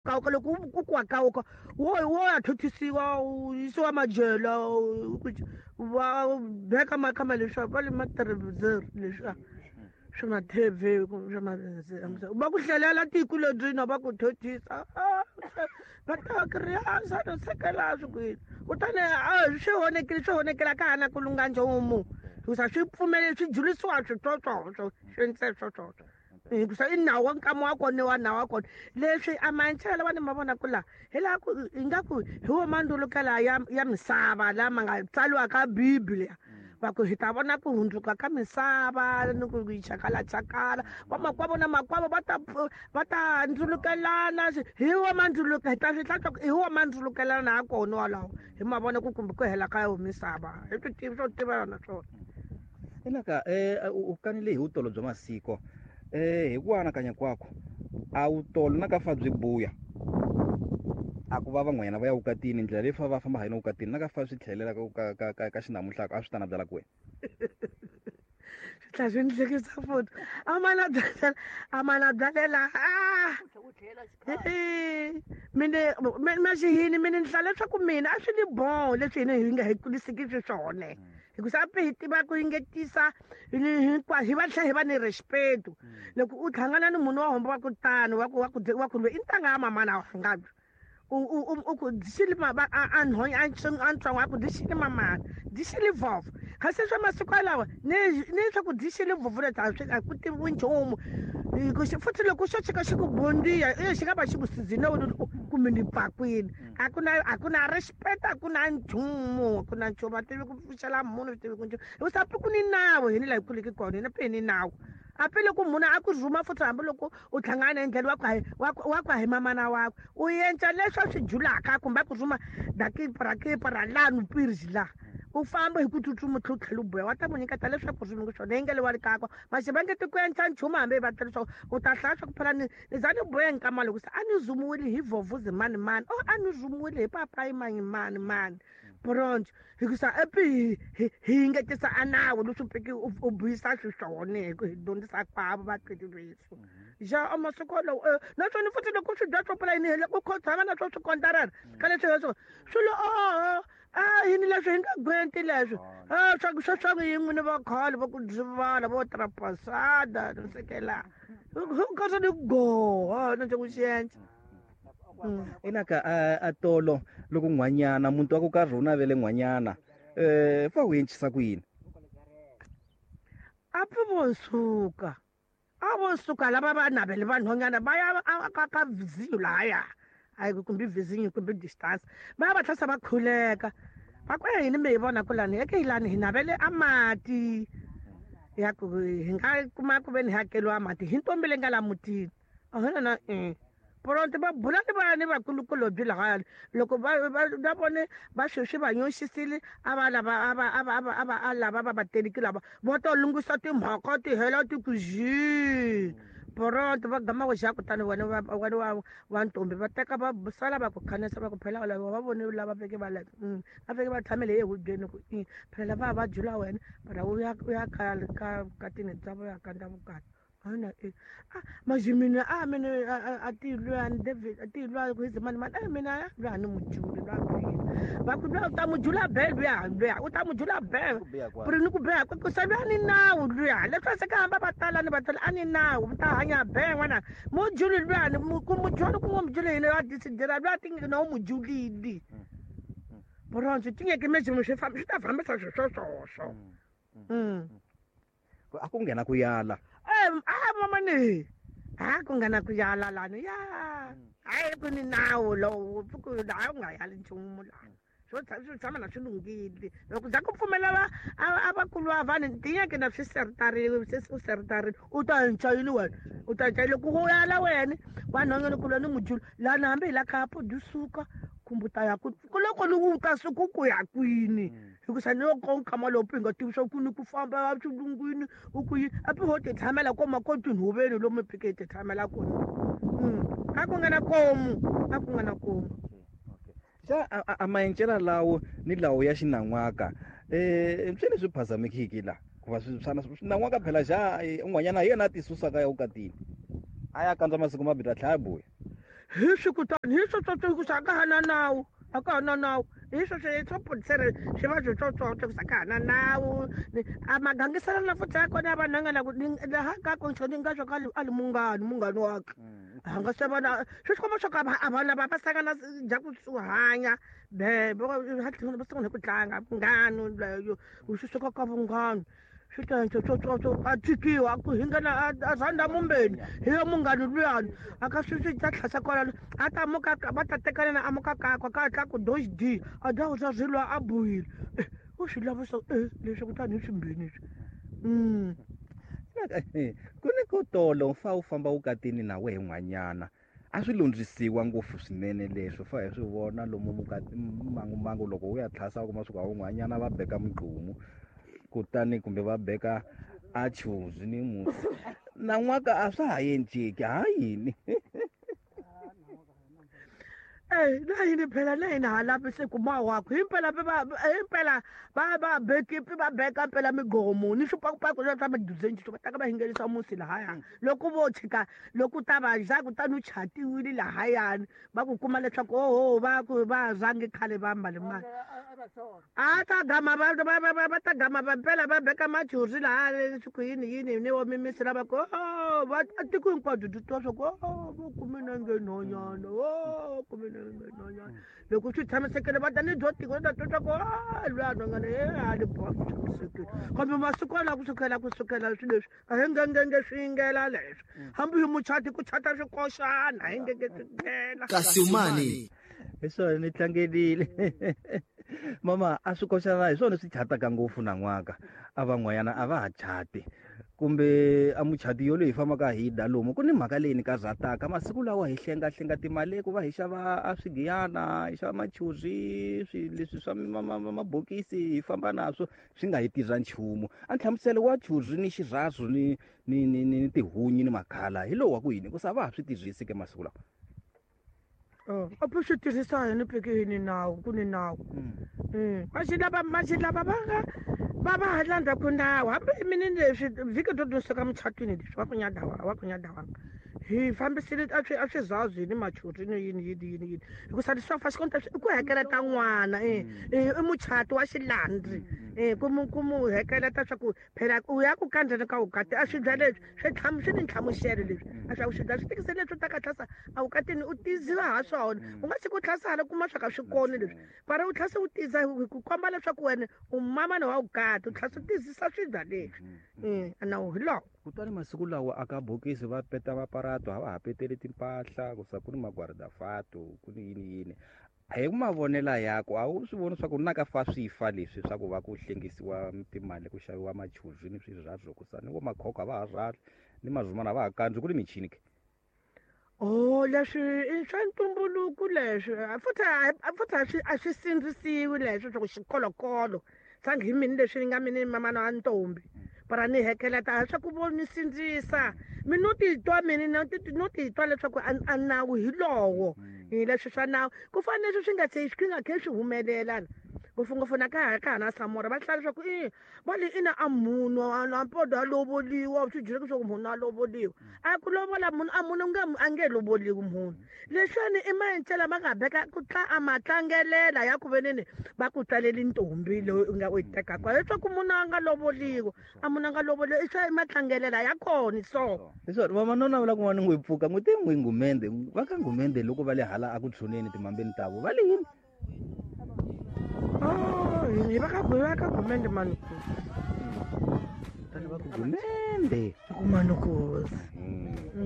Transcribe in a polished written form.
kawuka loko ku ku wa kawuka wo ya thothisiwa u yisiwa majela va beka makhama leswiya va le matirivizeri leswiya swi nga tv swa va ku hlelela tiko lebyi na va ku thothisa va ta kiriasa no sekela swi kwini kutani swi honekile swi honekela ka ha na ku lunga nchumu hikusa swi pfumele swi julisiwa switswotswotswo swi ndze swoswoswo hikusa i nawu wa nkama wa kona wa nawu wa kona leswi a maenchela va ni ma vona ku laha hi laha ku ingaku hi wo mandzulukela ya misava lama nga tsaliwa ka bibele va ku hi ta vona ku hundzuka ka misava ni ku yi chakalachakala vamakwavo na makwavo va ta ndzulukelana hi wa mandzuluka hi ta swi hlantswa hi wa mandzulukelana ha kona walawo hi ma vona ku kumbe ku hela ka yo misava hi swi tivi swo tiva yona swona. Inaka u kanile hi vutolo bya masiko hi ku anakanya kwakho a wutolo na ka fa byi buya a ku va van'wanyana va ya vukatini ndlela leyi fa va famba ha yona vukatini na ka fa swi tlhelela ka xinamuhlaka a swi ta na byala ku wena. Swi tlhela swi ni hlekisa futhi a mana byalela a mine maxihini mine ni hlaya leswaku mina a swi ni boho leswi hina hi nga hi kulisiki xiswona hikusa a hi tiva ku yingetisa hinkwayo hi va tlhela hi va ni respect. Loko u hlangana ni munhu wa homba wa ku tano wa ku loyi i ntanga ya mamana wa nga u ku dixili a nhonya a ntsongo a ku dixili mamana dixili vhovho kasi swa masiku yalawa ni swa ku dixili vhovho leti a swi a ku tiviwi nchumu futhi loko xo tshika xi ku bondiya e xi nga va xi ku sizile kumbe ni pakwini a ku na respect, a ku na nchumu, a ku na nchumu, a tivi ku pfuxela munhu swi tivi ku nchumu hikusa pi ku ni nawu hini laha hi kuliki kona hina pi hi ni nawu a pi loko munhu a ku rhuma futhi hambiloko u hlangana endleni wa ku hi mamana wakwe u yenca leswi a swi julaka kumbe a ku rhuma dakipa ra lani pirji la u famba hi ku tsutsuma u tlhela u tlhela u buya wa ta n'wi nyiketa leswaku rhumi swona yi nge le wa le kakwa maxi va nge ti ku endla nchumu hambi va tlhela leswaku u ta hlaya swa ku phela ni za ni buya nkama loko se a ni zumiwile hi vhovhuzi mani mani o a ni zumiwile hi papayi mani mani mani bronze hikusa epi hi yingetisa a nawu leswi piki u buyisa xiswona hi ku hi dyondzisa kwavo vatswari vethu ja a masiku wolowo naswona futhi loko swi dya swo pfula yini hi ku tshama na swo swi kontarana ka leswi leswo swilo oho a yini leswi hi nga gwenti leswi a swa yin'we ni vakhale va ku dzivala vo trapasada no sekela kasi ni goha na ku xiendla. Inaka a tolo loko n'hwanyana muntu wa ku karhi u navele n'hwanyana fa wu encisa ku yini? A pfi vo suka a vo suka lava va navele vanhwanyana va ya ka vizinyo lahaya hayi kumbe vizinyo kumbe distance va ya va tlhasa va khuleka va ku yini mi hi vona ku lani eke lani hi navele a mati ya ku hi nga kuma ku ve ni hakeliwa mati hi ntombi leyi nga la mutini ahona na pronto va bula ni va ni vakulukulobyi lahaya loko va vone va sweswi va nyoxisile a va lava a va a va a va a va a lava va vateliki lava vo to lunghisa timhaka ti hela ti ku zhi pronto va gama ku xa kutani wena wa ntombi va teka va sala va ku khanisa va ku phela lava va vone lava veke va la va fike va tshamele ehubyeni ku i phela lava va jula wena para u ya kaya ka tini bya vo ya kandza vukati ana e a maji mina a mina a ti lwani David a ti lwa ku hizi mani mani a mina lwa ni mujuli lwa va ku lwa u ta mujula be luya luya u ta mujula be puri ni ku beha ku se lwa ni nawu luya leswi se ka hamba va tala ni va tala a ni nawu mi ta hanya be n'wana mujuli lwani ku mujuli ku n'wi mujuli hina va disidira lwa ti na u mujulili buronzo tingeke mezimo swi famba swi ta fambisa swi swoswoswo. A ku nghena ku yala. A mama ni a ku nga na ku yala lani ya hayi ku ni nawu lowu ku laha u nga yali nchumu laha swo swi tshama na swi lunghile loko za ku pfumela va a vakulu va vanhu tiyeke na swi seritarile se u seritarile u ta henca yini wena u ta henca loko u yala wena vanhwanyana ku lwa ni mujulu lani hambi hi la khapo dyi suka kumbe u ta ya ku loko ni u ta suka ku ya kwini hikusa ni loko nkama lowu pi nga tivi swa ku ni ku famba swilungwini u ku yini a pi ho ti tshamela koma ko tinhoveni lomu phike hi ti tshamela kona a ku nga na komu a ku nga na komu. Xa a maencela lawo ni lawo ya xinan'waka swi leswi phazamekiki la ku va swi swana swinan'waka phela xa un'wanyana hi yena a ti susaka ya vukatini a ya kandza masiku mambirhi a tlhela a buya. Hi swi kutani hi swo tsotso hikusa a ka ha na nawu, a ka ha na nawu. Hi swo swo polisere swi va swi tsotsotso hikusa a ka ha na nawu. A magangiselo na futhi ya kona ya vanhu nga na ku laha ka ku ni nga swa ka a li munghani, munghani wakhe. A nga se vona swi tikomba swa ku a vanhu lava va sangana dya ku hanya be va va sungula ku tlanga vunghani leyo swi suka ka vunghani swi ta tsotsotsotso a tikiwa a ku hingana a rhandza mumbeni hi yo munghani luyani a ka swi swi ta tlhasa kwalano a ta muka va ta tekana na amuka kakwa ka tla ku dox d a dya ku swa swilo a buhile u swi lavisa leswi kutani hi swimbeni leswi. Ku ni ko tolo fa u famba vukatini na wehe n'wanyana a swi lundzisiwa ngopfu swinene leswo fa hi swi vona lomu mukati mangumbangu loko u ya tlhasa u kuma swi ku un'wanyana va beka mugqumu kutani kumbe va beka a chuzi ni musi nan'waka a swa ha endleki ha yini. Na yini phela na hina ha lavi se ku mawako himpela himpela va va bekipi va beka mpela migomo ni swipakupaku swa swa miduzenji va ta ka va hingerisa musi lahaya loko vo tshika loko ta va za kutani u chatiwile lahayani va ku kuma leswaku oho va ku va zangi khale va mbale mali a ta gama va va va va ta gama va mpela va beka machuzi laha leswi ku yini yini ni wo mimisi lava ku o va tiko hinkwabyo byi twa swa ku o vo kume na nge nhonyana o kume na nge nhonyana loko swi tshamisekile va ta ni byo tiko ta twa swa ku a lwiya nhonyana e a ni boha swi tshamisekile kambe masiku lawa kusukela swilo leswi a hi ngengenge swi yingela leswi hambi hi muchati ku chata swikoxana hi ngenge swi nghena kasi umani hi swona ni tlangelile mama a swi koxana hi swona swi chataka ngopfu nan'waka a van'wanyana a va ha chati kumbe a muchati yoleyi hi fambaka hi da lomu ku ni mhaka leyi ni karhataka masiku lawa hi hlengahlenga timali ku va hi xava a swigiyana hi xava machuzi swi leswi swa mabokisi hi famba naswo swi nga hi tirha nchumu a nhlamuselo wa chuzi ni xirhazo ni ni ni ni tihunyi ni makhala hi lowu wa ku yini ku sa va ha swi tirhisi ke masiku lawa. A swi tirhisa yini peke yini nawu ku ni nawu maxi lava va nga va va ha landza ku nawu hambi mini leswi vhiki byo dyondzisa muchatwini leswi wa ku nyadawa wa ku nyadawanga hi fambisile a swi a swi zazi ni machuri ni yini yini yini yini hikusa leswi swa fa xikonta i ku hekeleta n'wana i muchato wa xilandzi ku mu hekeleta swa ku phela u ya ku kandzeni ka vukati a swibya leswi swi tlhamu swi ni nhlamuselo leswi a swa ku swibya swi tikise leswi u ta ka tlhasa a vukatini u tiziwa ha swona u nga si ku tlhasa hala kuma swa ka swi koni leswi para u tlhasa u tiza hi ku komba leswaku wena u mamana wa vukati u tlhasa u tizisa swibya leswi nawu hi lowo. Kutani masiku lawa aka bokisi va peta maparato a va ha peteli timpahla ku sa ku ni magwardafato ku ni yini yini hi mavonelo yako a wu swi voni swa ku na ka fa swi fa leswi swa ku va ku hlengisiwa timali ku xaviwa machuzi ni swirhazo ku sa ni vo makhokho a va ha rhali ni mazumana a va ha kandzi ku ni michini ke. Oh leswi i swa ntumbuluko leswi futhi a swi sindzisiwi leswi swa ku xikolokolo sangi hi mini leswi nga mini mamana wa ntombi para ni hekeleta swa ku vo ni sindzisa mi no titwa mini no titwa leswaku a nawu hi lowo hi leswi swa nawu ku fana leswi swi nga se swi nga khe swi humelela ngopfungopfu na ka ka hana Samora va hlaya leswaku i va le ina a munhu a mpodo a lovoliwa swi byele leswaku munhu a lovoliwa a ku lovola munhu a munhu nge a nge lovoliwi munhu leswiwani i maendlelo ma nga beka ku tla a ma tlangelela ya ku veneni va ku tswaleli ntombi loyi u nga u yi tekaka leswaku munhu a nga lovoliwa a munhu a nga lovoliwa i swa i matlangelela ya kona so hi swona vavanuna va la kun'wana n'wi pfuka n'wi te n'wi ngumende va ka ngumende loko va le hala a ku tshuneni timambeni tavo va le yini. Oh hi va ka va ka gumende manuku tani va ku gumende ku manukuzi.